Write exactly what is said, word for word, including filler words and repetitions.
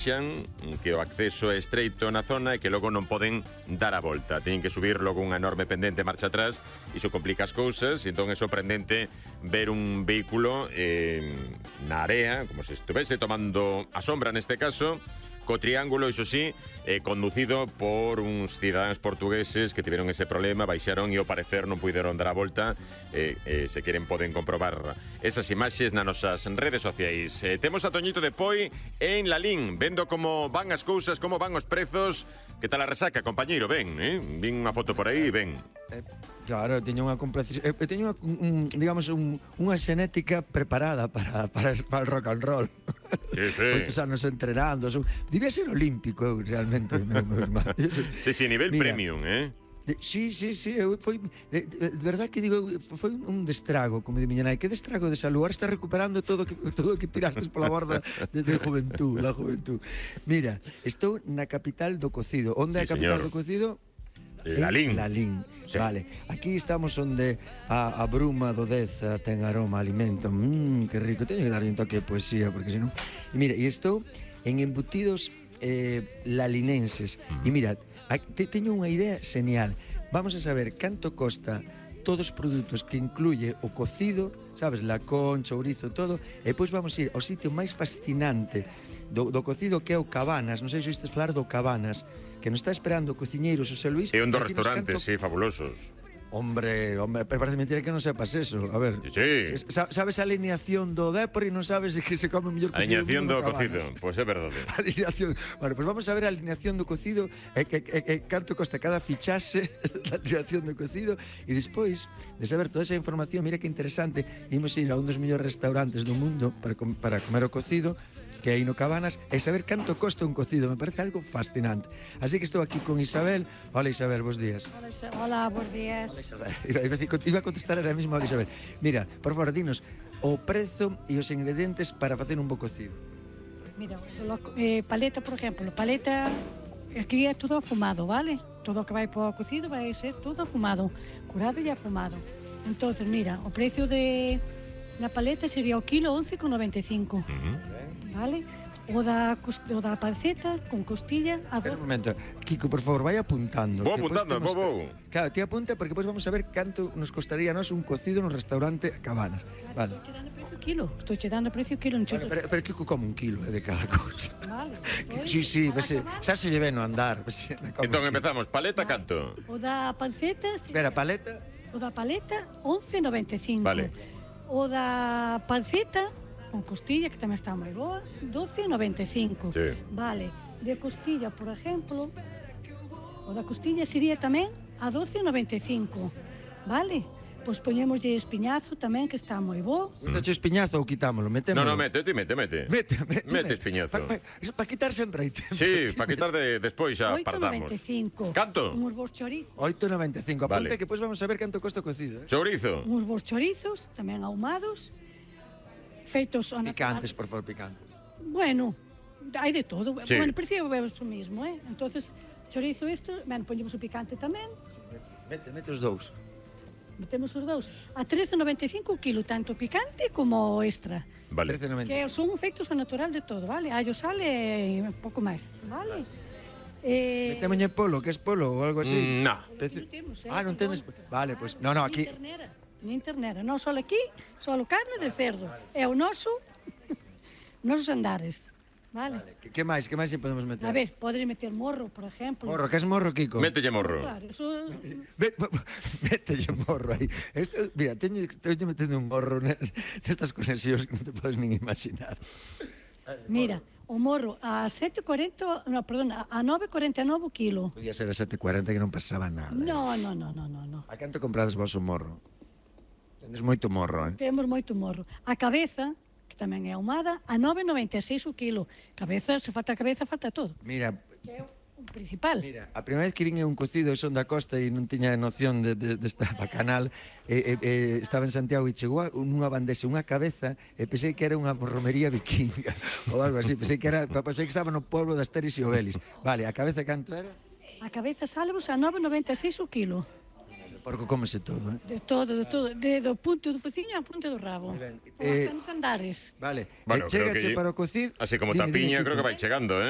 que o acceso é estreito na zona e que logo non poden dar a volta. Teñen que subir logo unha enorme pendente marcha atrás, iso complica as cousas, e entón é sorprendente ver un vehículo eh, na area, como se estuvese tomando a sombra neste caso, co triángulo, iso sí, eh, conducido por uns cidadáns portugueses que tiveron ese problema, baixaron e ao parecer non puderon dar a volta. Eh, eh, se queren poden comprobar esas imaxes nas nosas redes sociais. Eh, temos a Toñito de Poi en Lalín, vendo como van as cousas, como van os prezos. Que tal a resaca, compañeiro? Ben, eh? Vin unha foto por aí, ben. Eh, claro, teño unha complacencia, eh, teño unha, un, digamos, un, unha xenética preparada para, para, para el rock and roll. Sí, sí. Moitos anos entrenando, son, debía ser olímpico, eu, realmente, meu, meu irmán. Sí, sí, nivel Mira, premium, eh? De, sí, sí, sí, eu, foi de, de, de verdad que digo, foi un destrago, como di miña nai, que destrago de salud, ahora está recuperando todo que todo o que tirastes pola borda de, de juventud, la juventud. Mira, estou na capital do cocido. Onde é Sí, a capital señor. do cocido? Lalín. Lalín, Sí. vale. Aquí estamos onde a, a bruma do Deza ten aroma a alimento. Mmm, que rico. Teño que darlle un toque de poesía, porque senón... E mira, e estou en embutidos eh, lalinenses. Mm. E mira, te, teño unha idea genial. Vamos a saber canto costa todos os produtos que incluye o cocido, sabes, lacón, chourizo, todo, e depois vamos ir ao sitio máis fascinante do, do cocido, que é o Cabanas. Non sei se oístes falar do Cabanas, que nos está esperando o cociñeiro Xosé Luis. É un dos e dinos restaurantes, canto... sí, fabulosos. Hombre, hombre, pero parece mentira que non sepas eso. A ver, Sí, sí. sabes a alineación do Depor e non sabes que se come o mellor cocido Alineación do do mundo no cocido, Cabanas. pois pues é verdade. Alineación. Bueno, pues vamos a ver a alineación do cocido e, que, e, e canto costa cada fichaxe da alineación do cocido, e despois de saber toda esa información, mira que interesante, imos ir a un dos mellores restaurantes do mundo para, com, para comer o cocido, que aí no Cabanas, e saber canto costa un cocido. Me parece algo fascinante. Así que estou aquí con Isabel. Hola, Isabel, bons días. Hola, Isa- Hola, bons días. Hola, Isabel. Iba, iba a decir- iba a contestar ahora mismo a Isabel. Mira, por favor, dinos o prezo e os ingredientes para facer un bo cocido. Mira, lo- eh, paleta, por exemplo, paleta, aquí é todo afumado, vale? Todo o que vai para o cocido vai ser todo afumado, curado e afumado. Entonces, mira, o precio de na paleta sería o kilo once con noventa e cinco, vale? O da, cos- o da panceta con costilla a Espera un do... momento, Kiko, por favor, vai apuntando. Vou que despois apuntando, temos- vou, vou. Claro, ti apunta porque depois vamos a ver canto nos costaría a nos un cocido no restaurante Cabanas. Vale. Estou che dando precio kilo, estou che dando precio kilo, non che... Bueno, pero, pero Kiko come un kilo eh, de cada cousa. Vale, Sí, sí, vese, xa se lle ven no andar. Vese, come Entón un kilo. empezamos, paleta canto. O da panceta... si- Espera, paleta. O da paleta, once noventa e cinco. Vale. O da panceta, con costilla, que tamén está moi boa, doce noventa e cinco. Sí. Vale. De costilla, por exemplo, o da costilla sería tamén a doce noventa e cinco. Vale? Pois poñémoslle espiñazo tamén, que está moi bo. Gusta che espinazo ou quitámolo? No, Metémolo. no, mete, ti mete, mete. Mete, mete, Mete espinazo. Para pa, pa quitar sempre aí tempo. Sí, para quitar de, despois xa oito partamos. noventa e cinco. Canto? Uns bons chorizos. oito noventa e cinco. Apunta Vale. que depois vamos a ver canto costa o cocido. Eh? Chourizo. Uns bons chorizos, tamén ahumados, feitos ao natural. Picantes, por favor, picantes. Bueno, hai de todo. Sí. Bueno, precio é o mismo, eh? Entonces, chorizo isto, ben, poñemos o picante tamén, Mete, mete os dous. metemos os dous. A trece noventa e cinco o kilo, tanto picante como o extra. Vale. trece noventa. Que son feitos ao natural de todo, vale? Allo, sal e un pouco máis, vale? Eh, Metémolle polo, que es polo ou algo así. Mm, no. Pece- non temos, eh, Ah, non perdón. tenes... Vale, pois... No, no, aquí... Nin ternera, nin ternera. Non só aquí, só carne de cerdo. É o noso, nosos andares, vale? Que, que máis, que máis lle podemos meter? A ver, podes meter morro, por exemplo. Morro, que es morro, Kiko? Mételle morro. Claro, eso... Met, mételle morro aí. Esto, mira, teño, teño metendo un morro ne- nestas conexións que non te podes nin imaginar. Mira, o morro a sete cuarenta, no, perdón, a nove cuarenta e nove o kilo. Podía ser a sete cuarenta que non pasaba nada. No, no, no, no, no, no. A canto comprades vos o morro? Tendes moito morro, eh? Temos moito morro. A cabeza, que tamén é ahumada, a nove noventa e seis o kilo. Cabeza, se falta a cabeza, falta todo. Mira, Que é o principal. mira, a primeira vez que vin un cocido e son da costa e non tiña noción de, de, desta bacanal, e, e, e, estaba en Santiago e chegou a- nunha bandexa, unha cabeza, e pensei que era unha romería vikinga ou algo así, pensei que era, pensei que estaba no pueblo de Asteris e Obelis. Vale, a cabeza canto era? A cabeza salvos a nove noventa e seis o kilo. Porque cómese todo, eh? De todo, de todo, de do punto do fociño ao punto do rabo. Moi ben. Ou Eh, hasta nos andares. Vale, Bueno, e creo chégache que- para o cocido. Así como Dime, dime, tapiña, Kiko. creo que vai chegando, eh?